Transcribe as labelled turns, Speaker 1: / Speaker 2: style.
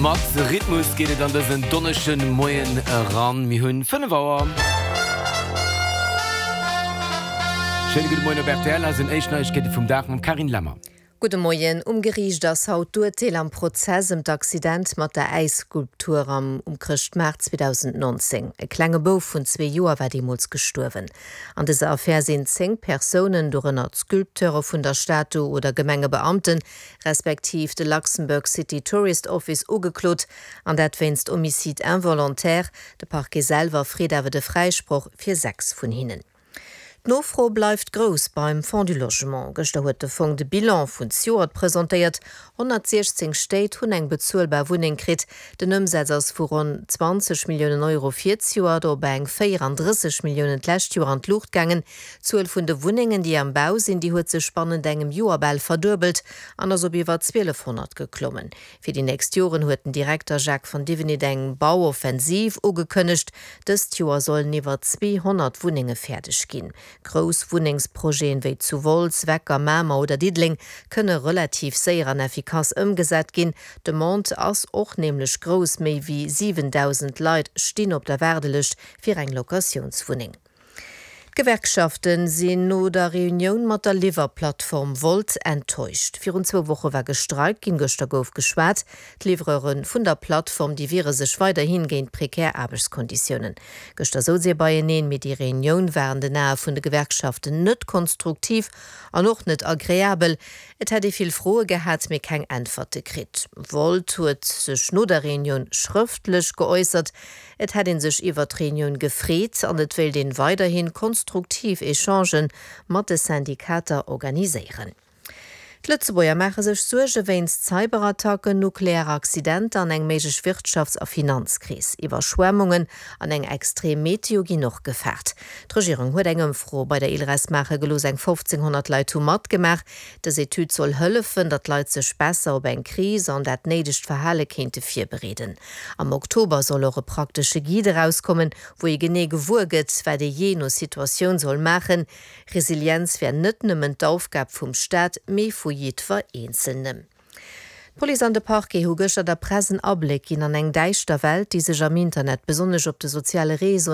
Speaker 1: Mat Rhythmus geet et an dësen Donneschden Moien eran. Mir hunn 5 Auer. Schéine gudde Moien op rtl. Hei sinn éischt Neiegkeete vum Dag mam Carine Lemmer.
Speaker 2: Gudde Moien. Um Geriicht ass haut d'Urteel am Prozess ëm d'Accident mat der Äisskulptur am um Chrëschtmaart 2019. E klenge Bouf vun zwee Joer war deemools gestuerwen. An dëser Affär sinn 10 Persounen, dorënner d'Sculpteure vun der Statu oder Gemengebeamten, respektiv de Luxembourg City Tourist Office ugeklot, an dat wéinst Homicide involontaire. De Parquet selwer freet awer de Fräisproch fir 6 vun hinnen. D'Nofro bleift grouss beim Fonds du Logement. Gëschter huet de Fong de Bilan vun zejoert presentéiert. 116 Stéit hunn eng bezuelbar Wunneng kritt. Den Ëmsaz ass vu ronn 20 Milliounen Euro fir zejoert op eng 34 Milliounen d'lescht Joer an d'Luucht gaangen. D'Zuel vun de Wunnengen, déi am Bau sinn, déi huet sech bannent engem Joer bal verduebelt an ass op iwwer 1.200 geklommen. Fir déi nächst Joren huet den Direkter Jacques van Divenit eng Bauoffensiv ugekënnegt. Dëst Joer sollen iwwer 200 Wunnenge fäerdeg ginn. Grouss Wunnengsprojeten, wéi zu Wolz, Wecker, Mamer oder Diddeleng, kënne relativ séier an effikass ëmgesat ginn. D'Demande ass och nämlech grouss, méi wéi 7.000 Leit stinn op der Waardelëscht fir eng Locatiounswunneng. D'Gewerkschafte sinn no der Reunioun mat der Liwwerplattform Wolt enttäuscht. Virun zwou Woche war gestreikt ginn, gëschter gouf geschwat. D'Livreure vun der Plattform, déi wiere sech weiderhi géint prekär Aarbechtskonditiounen. Gëschter souz ee beieneen, mee déi Reunioun war an den Ae vun de Gewerkschaften net konstruktiv an och net agreabel. Et hätt ee vill Froe gehat, mee keng Äntwerte kritt. Wolt huet sech no der Reunioun schrëftlech geäussert. Et hätt ee sech iwwert d'Reunioun gefreet an et wéilt een weiderhin konstruktiv Echangen mat de Syndikater organiséieren. D'Lëtzebuerger maache sech Suerge wéinst Cyberattacken, nuklearer Accidenter an eng méiglech Wirtschafts a Finanzkris. Iwwerschwemmungen an eng extrem Meteo ginn och gefaart. D'Regierung huet eng Ëmfro bei der ILReS maache gelooss. Eng 1.500 Leit hu matgemaach. Dës Etüd soll hëllefen, datt d'Leit sech besser op eng Kris an dat néidegt Verhale kéinte virbereeden. Am Oktober soll och e praktesche Guide erauskommen, wou ee genee gewuer gëtt, wat ee jee no Situatioun soll maachen. Resilienz wär net nëmmen d'Aufgab vum Staat, mee vu jiddwer Eenzelnem. D'Police an de Parquet hu gëschter der Press en Abléck ginn an eng däischter Welt, déi sech am Internet, besonnesch op de soziale Réseauen.